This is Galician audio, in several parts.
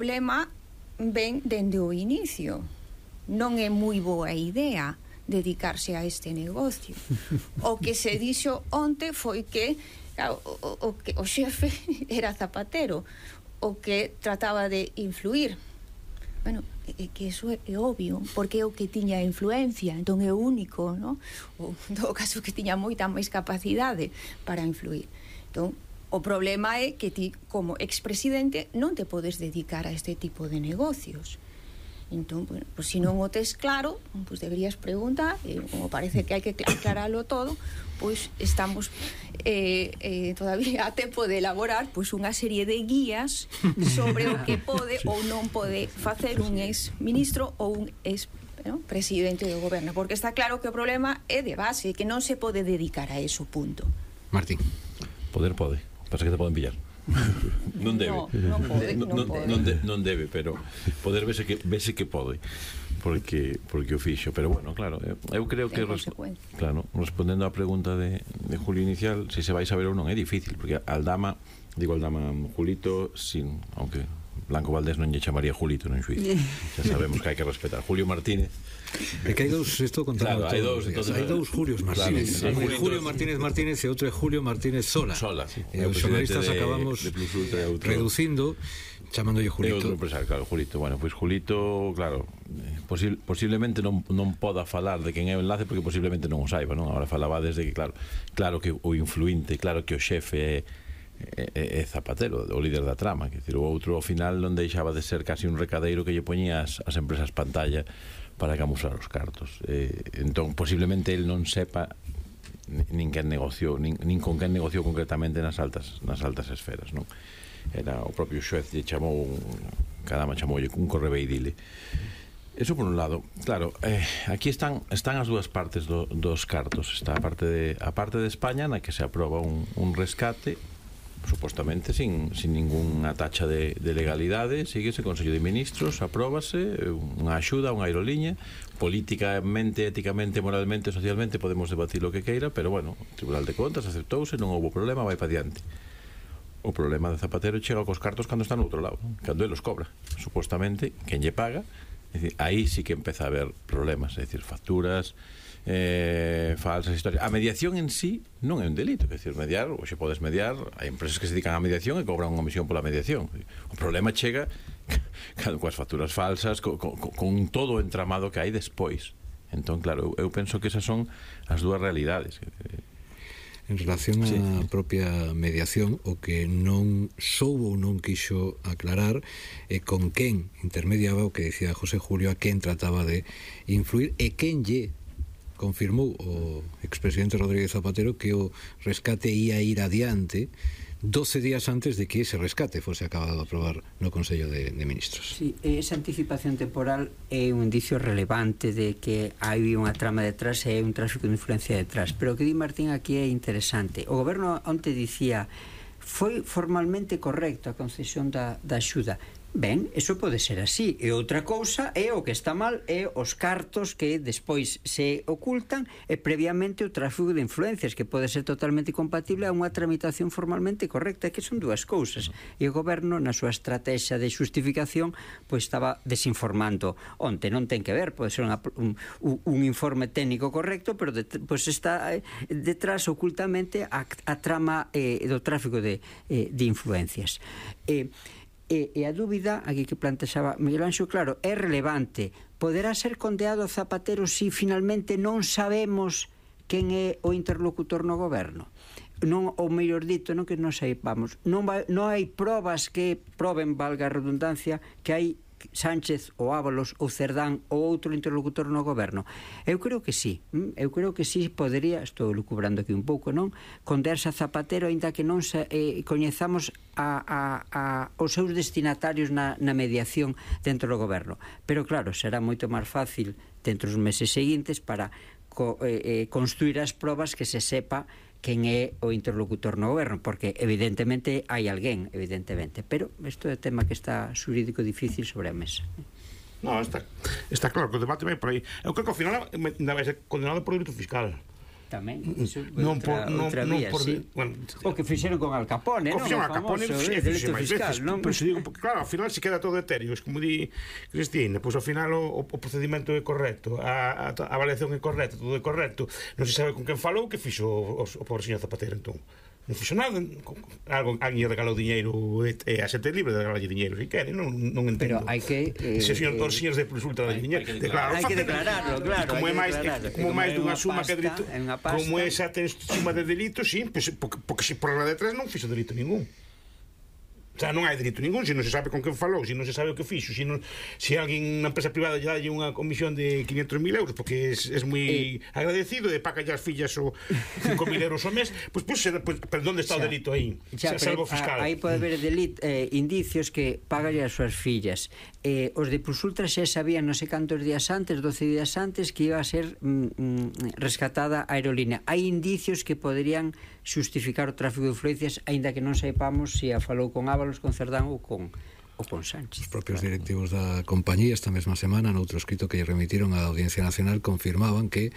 problema ven dende o inicio. Non é moi boa idea dedicarse a este negocio. O que se dixo onte foi que o xefe era Zapatero, o que trataba de influir. Bueno, é que eso é obvio, porque é o que tiña influencia, entón é o único, non? Ou, en todo caso, que tiña moita máis capacidade para influir. Entón, o problema é que ti, como expresidente, non te podes dedicar a este tipo de negocios. Entón, bueno, pues, se non o tes claro, pues deberías preguntar, como parece que hai que aclararlo todo, pois estamos todavía a tempo de elaborar pois unha serie de guías sobre o que pode ou non pode facer un ex-ministro ou un ex-presidente do goberno, porque está claro que o problema é de base, que non se pode dedicar a eso, punto. Martín. Poder pode, pasa que te poden pillar. Non debe. Non debe, pero poder vese que pode, porque o fixo, pero bueno, claro, eu creo que claro, respondendo á pregunta de Julio inicial, se vai saber ou non é difícil, porque Aldama, Julito, sin, aunque Blanco Valdés non lle chamaría Julito non xuizo, xa sabemos que hai que respetar. Julio Martínez, é que hai dous, isto contando, claro, hai dous Julios Martínez, claro, Julio Martínez e outro é Julio Martínez Sola, sí. Os xornalistas acabamos reducindo, chamándolle Julito. É outro empresario, claro, Julito. Bueno, pois Julito, claro, posiblemente non poda falar de quen é o enlace, porque posiblemente non o saiba, non? Agora falaba desde que, claro que o influinte, claro que o xefe é Zapatero, o líder da trama, que decir, o outro ao final non deixaba de ser casi un recadeiro que lle poñía as empresas pantalla para camuflar os cartos. Entón, posiblemente el non sepa nin quen negociou, nin con quen negociou concretamente nas altas esferas, non? Era o propio xuez lle chamou Cadama chamoulle un correveidile. Eso por un lado. Claro, aquí están as dúas partes dos cartos. Está a parte de España, na que se aproba un rescate supostamente sin ninguna tacha de legalidade, síguese Consello de Ministros, apróbase unha axuda, unha aeroliña, políticamente, éticamente, moralmente, socialmente podemos debatir o que queira, pero bueno, o Tribunal de Contas aceptouse, non houve problema, vai para diante. O problema de Zapatero chega cos cartos cando está no outro lado, cando ele os cobra, supostamente, quen lle paga, é dicir, aí sí que empeza a haber problemas, é dicir, facturas, falsas historias. A mediación en sí non é un delito, é dicir, mediar, ou se podes mediar, hai empresas que se dedican á mediación e cobran unha comisión pola mediación. O problema chega coas facturas falsas, con todo o entramado que hai despois. Entón, claro, eu penso que esas son as dúas realidades. En relación á propia mediación, o que non soubo ou non quixo aclarar é con quen intermediaba, o que dicía José Julio, a quen trataba de influir e quen lle confirmou o expresidente Rodríguez Zapatero que o rescate ia ir adiante 12 días antes de que ese rescate fose acabado de aprobar no Consello de Ministros. Sí, esa anticipación temporal é un indicio relevante de que hai unha trama detrás e hai un tráfico de influencia detrás, pero o que di Martín aquí é interesante. O goberno onte dicía foi formalmente correcto a concesión da axuda. Ben, eso pode ser así. E outra cousa é o que está mal é os cartos que despois se ocultan e previamente o tráfico de influencias, que pode ser totalmente compatible a unha tramitación formalmente correcta, que son dúas cousas. E o goberno, na súa estrategia de xustificación, pois estaba desinformando. Onte non ten que ver, pode ser un informe técnico correcto, pero pois está detrás ocultamente a trama do tráfico de influencias. E a dúbida aquí que plantexaba Miguel Anxo, claro, é relevante. Poderá ser condeado Zapatero se finalmente non sabemos quen é o interlocutor no goberno? Non, ou mellor dito, non que non saibamos, non hai probas que proben, valga a redundancia, que hai Sánchez ou Ábalos ou Cerdán ou outro interlocutor no goberno. Eu creo que sí, podería, estou lucubrando aquí un pouco, non? Condearse a Zapatero, aínda que non coñezamos os seus destinatarios na mediación dentro do goberno. Pero claro, será moito máis fácil dentro dos meses seguintes para construir as probas que se sepa quen é o interlocutor no goberno, porque evidentemente hai alguén, evidentemente, pero isto é tema que está xurídico difícil sobre a mesa. No, está claro que o debate vai por aí. Eu creo que ao final vai ser condenado por delito fiscal. tamén. Non por o que fixeron con Al Capone, non? O fixeron Al Capone, delito fiscal, non? Pero se digo, porque claro, ao final se queda todo etéreo, es como di Cristina, pois ao final o procedimento é correcto, a avaliación é correcta, todo é correcto, non se sabe con quen falou, que fixo o pobre señor Zapatero, entón non fixo nada, alguén regalou diñeiro e a xente libre de regalar diñeiro se quere, non entendo. Pero hai que se os señores de Consulta de diñeiro, hai que declararlo, claro. Como é máis dunha suma que delito, como é esa suma de delitos, sí, porque se por la de tres non fixo delito ningún. O sea, non hai delito ningún, se non se sabe con quen falou, se non se sabe o que fixo, se alguén na empresa privada lle dalle unha comisión de 500.000 euros porque é moi agradecido e paga as fillas o 5.000 euros ao mes, pois pero onde está o delito aí? Salvo fiscal. Aí pode haber indicios que pagalle as súas fillas. Os de Plusultra xa sabían non sei cantos días antes, 12 días antes, que iba a ser rescatada a aerolínea. Hai indicios que poderían xustificar o tráfico de influencias, aínda que non saipamos se a falou con Ábalos, con Cerdán ou con Sánchez. Os propios directivos da compañía esta mesma semana, noutro escrito que lle remitiron á Audiencia Nacional, confirmaban que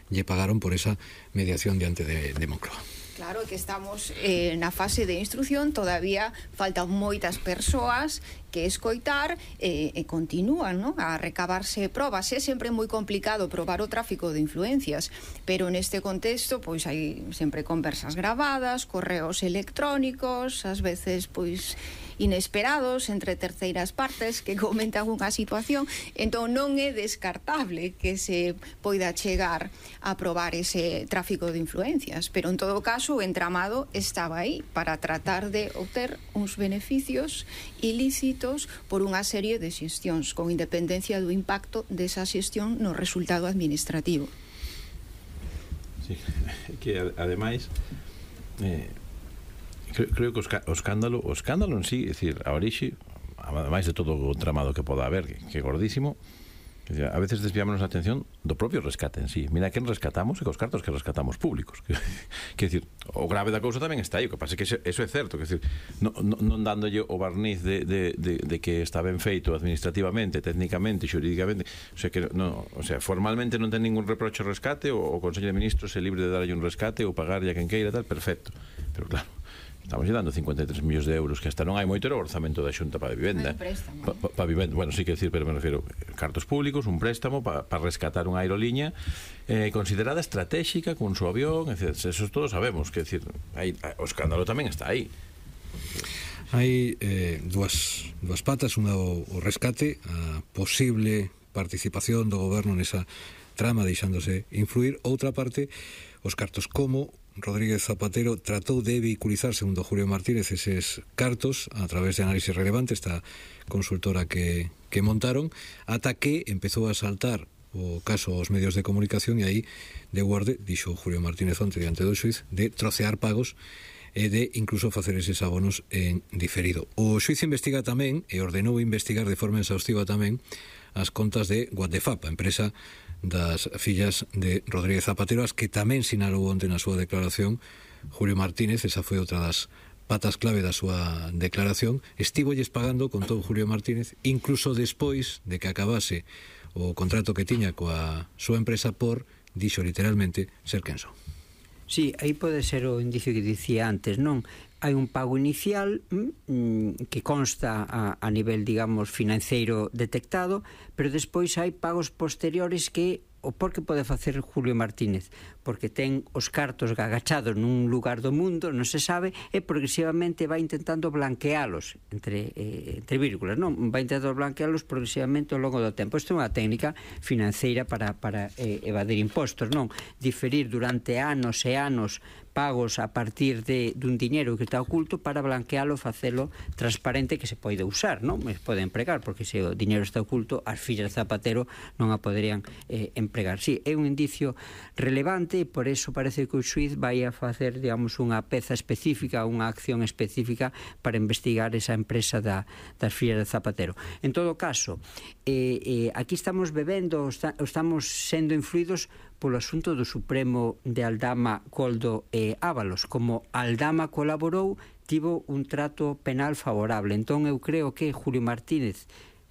lle pagaron por esa mediación diante de Moncloa. Claro que estamos na fase de instrucción, todavía faltan moitas persoas que escoitar e continúan, ¿no?, a recabarse probas. É sempre moi complicado probar o tráfico de influencias, pero neste contexto pois hai sempre conversas gravadas, correos electrónicos, ás veces pois inesperados entre terceiras partes que comentan unha situación, entón non é descartable que se poida chegar a probar ese tráfico de influencias, pero en todo caso o entramado estaba aí para tratar de obter uns beneficios ilícitos por unha serie de xestións con independencia do impacto desa xestión no resultado administrativo. Sí, que ademais creo que o escándalo en sí, é dicir, a orixe, ademais de todo o tramado que poda haber, que é gordísimo, a veces desviámonos a atención do propio rescate en sí. Mira, quen rescatamos e cos cartos que rescatamos públicos. Quer dicir, o grave da cousa tamén está aí, o que pasa é que eso é certo, quer dicir, non dándolle o barniz de que está ben feito administrativamente, técnicamente, xurídicamente, o sea, formalmente non ten ningún reproche ao rescate, o Consello de Ministros é libre de darlle un rescate ou pagarlle a quen queira, tal, perfecto. Pero claro, estamos dando 53 millóns de euros, que hasta non hai moito, era o orzamento da Xunta para a vivenda. Para vivenda, bueno, sí que decir, pero me refiro cartos públicos, un préstamo para rescatar unha aeroliña considerada estratégica con su avión, etc. Eso todos sabemos, que decir, o escándalo tamén está aí. Hai dúas patas, unha o rescate, a posible participación do goberno nesa trama deixándose influir, outra parte, os cartos, como Rodríguez Zapatero tratou de vehiculizar, segundo Julio Martínez, eses cartos a través de análisis relevante, esta consultora que montaron, ata que empezou a saltar o caso aos medios de comunicación e aí de guarde, dixo Julio Martínez onte diante do xuiz, de trocear pagos e de incluso facer eses abonos en diferido. O xuiz investiga tamén e ordenou investigar de forma exhaustiva tamén as contas de Guatefap, a empresa das fillas de Rodríguez Zapatero, as que tamén sinalou onte na súa declaración Julio Martínez. Esa foi outra das patas clave da súa declaración. Estivolles pagando, contou Julio Martínez, incluso despois de que acabase o contrato que tiña coa súa empresa por, dixo literalmente, ser quen son. Sí, aí pode ser o indicio que dicía antes, non? Hai un pago inicial que consta a nivel, digamos, financeiro detectado, pero despois hai pagos posteriores que o por que pode facer Julio Martínez? Porque ten os cartos agachados nun lugar do mundo, non se sabe, e progresivamente vai intentando blanquealos, entre vírgulas, non? Vai intentando blanquealos progresivamente ao longo do tempo. Isto é unha técnica financeira para evadir impostos, non? Diferir durante anos e anos pagos a partir dun diñeiro que está oculto para blanquealo, facelo transparente, que se pode usar, non? Se pode empregar, porque se o diñeiro está oculto, as fillas de Zapatero non a poderían empregar. Sí, é un indicio relevante e por eso parece que o xuiz vai a facer, digamos, unha peza específica, unha acción específica para investigar esa empresa das fillas de Zapatero. En todo caso, aquí estamos bebendo, estamos sendo influídos polo asunto do Supremo de Aldama, Coldo e Ábalos. Como Aldama colaborou, tivo un trato penal favorable. Entón eu creo que Julio Martínez,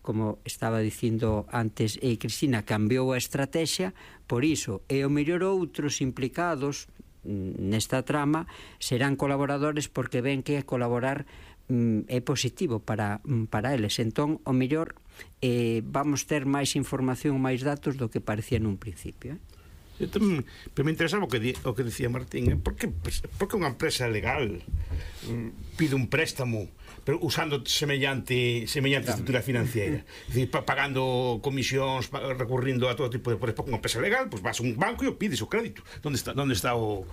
como estaba dicindo antes Cristina, cambiou a estrategia, por iso, e o mellor outros implicados nesta trama serán colaboradores porque ven que colaborar é positivo para eles. Entón, o mellor vamos ter máis información, máis datos do que parecía nun principio. Pero me interesaba o que dicía Martín, porque unha empresa legal pide un préstamo pero usando semellante estrutura financiera, es decir, pagando comisións, recurrindo a todo tipo de... Porque unha empresa legal, pues vas a un banco e o pides o crédito. Onde está o...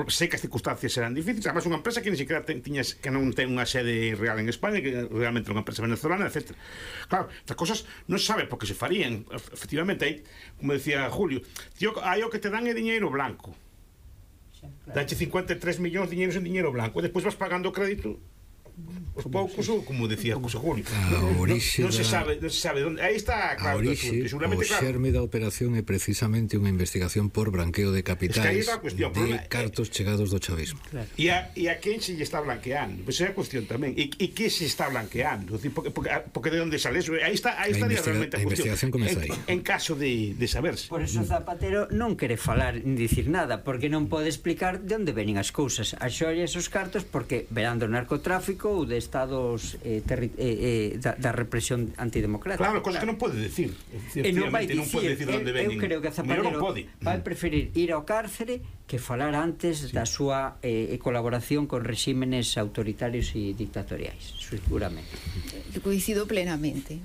Sei que as circunstancias serán difíciles, además unha empresa que ni siquiera que non ten unha sede real en España, que realmente é unha empresa venezolana, etc. Claro, estas cosas non se sabe por que se farían. Efectivamente, aí, como decía Julio, hai o que te dan é diñeiro blanco. Dache 53 millóns de diñeiros en diñeiro blanco, e despois vas pagando o crédito os poucos, ou como decía José Julio, non se sabe onde. Aí está, claro, o xerme da operación é precisamente unha investigación por branqueo de capitais de cartos chegados do chavismo. E a quen se lle está blanqueando? Pois é a cuestión tamén. E que se está blanqueando? Porque de onde sale eso? Aí estaría realmente a investigación comeza aí. En caso de saberse. Por eso Zapatero non quere falar ni dicir nada, porque non pode explicar de onde veñen as cousas. As xollas os cartos porque verán do narcotráfico ou de estados da represión antidemocrática. Claro, cosas que non pode decir. E non vai dicir, onde veñen. Eu creo que Zapatero vai preferir ir ao cárcere que falar antes da súa colaboración con regímenes autoritarios e dictatoriais, seguramente. Coincido plenamente,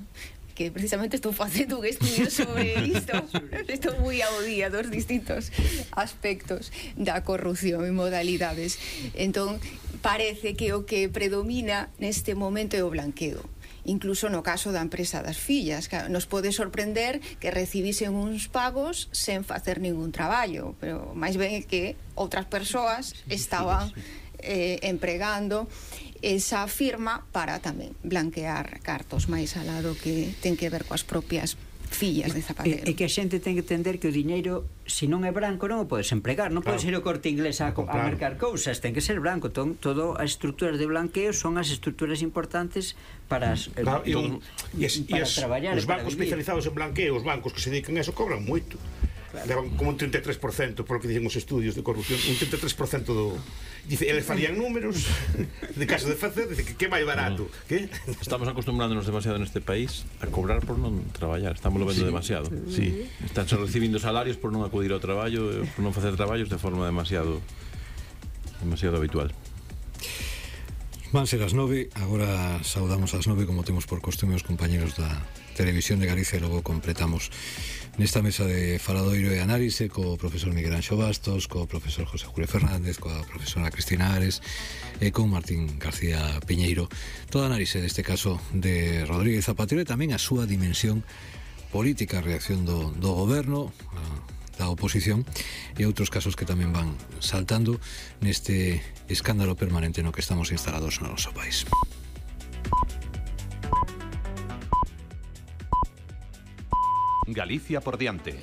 que precisamente estou facendo un estudio sobre isto. Estou moi ao día dos distintos aspectos da corrupción e modalidades. Entón, parece que o que predomina neste momento é o blanqueo. Incluso no caso da empresa das fillas, que nos pode sorprender que recibisen uns pagos sen facer ningún traballo, pero máis ben é que outras persoas estaban empregando esa firma para tamén blanquear cartos máis alado que ten que ver coas propias fillas de Zapatero. E que a xente ten que entender que o diñeiro, se non é branco, non o podes empregar, non podes ir ao Corte Inglés a mercar cousas, ten que ser branco. Todo as estruturas de blanqueo son as estruturas importantes para traballar. Os bancos especializados en blanqueo, os bancos que se dedican a eso, cobran moito. Levan como un 33%, por lo que dicen os estudios de corrupción, un 33% do... Dice, eles farían números de caso de facer, dice que é máis barato. Que? Estamos acostumbrándonos demasiado neste país a cobrar por non traballar, estamos lo vendo demasiado. Sí. Están recibindo salarios por non acudir ao traballo, por non facer traballos de forma demasiado habitual. Van ser as 9, agora saudamos as 9 como temos por costume os compañeros da Televisión de Galicia e logo completamos nesta mesa de faladoiro e análise co profesor Miguel Anxo Bastos, co profesor José Julio Fernández, coa profesora Cristina Ares e con Martín García Piñeiro. Toda análise deste caso de Rodríguez Zapatero e tamén a súa dimensión política, a reacción do goberno, da oposición e outros casos que tamén van saltando neste escándalo permanente no que estamos instalados no noso país. Galicia por diante.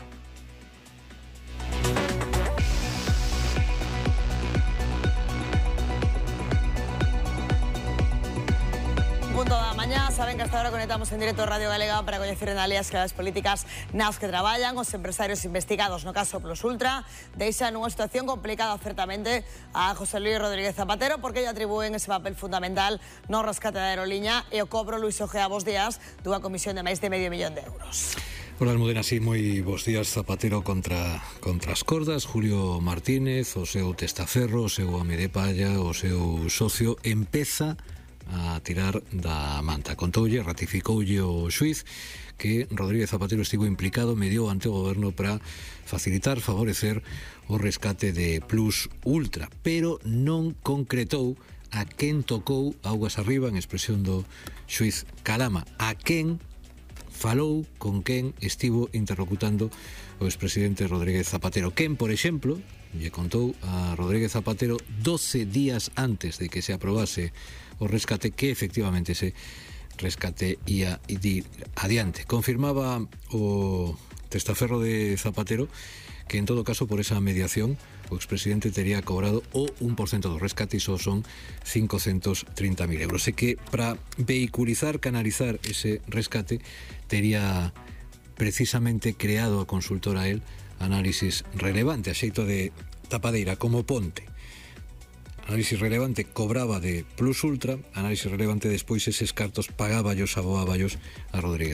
Punto da mañá, saben que hasta ahora conectamos en directo Radio Galega para coñecer en alias que as políticas nas que traballan os empresarios investigados no caso Plus Ultra deixan nunha situación complicada certamente a José Luis Rodríguez Zapatero porque lle atribúen ese papel fundamental no rescate da aeroliña e o cobro Luis Ojea bos días dunha comisión de máis de medio millón de euros. Hola, Almudena, sí, moi bons días. Zapatero contra as cordas, Julio Martínez, o seu testaferro, o seu home de palla, o seu socio, empeza a tirar da manta. Contoulle, ratificoulle o xuiz que Rodríguez Zapatero estivo implicado, mediou ante o goberno para facilitar, favorecer o rescate de Plus Ultra, pero non concretou a quen tocou augas arriba, en expresión do xuiz Calama, a quen falou, con quen estivo interlocutando o expresidente Rodríguez Zapatero. Quen, por exemplo, lle contou a Rodríguez Zapatero 12 días antes de que se aprobase o rescate que efectivamente ese rescate ia ir adiante. Confirmaba o testaferro de Zapatero que en todo caso por esa mediación o expresidente tería cobrado o 1% do rescate, iso son 530.000 euros. E que para vehiculizar, canalizar ese rescate tería precisamente creado a consultora el Análisis Relevante, a xeito de tapadeira, como ponte. Análisis Relevante cobraba de Plus Ultra, Análisis Relevante despois eses cartos pagáballos, aboáballos a Rodríguez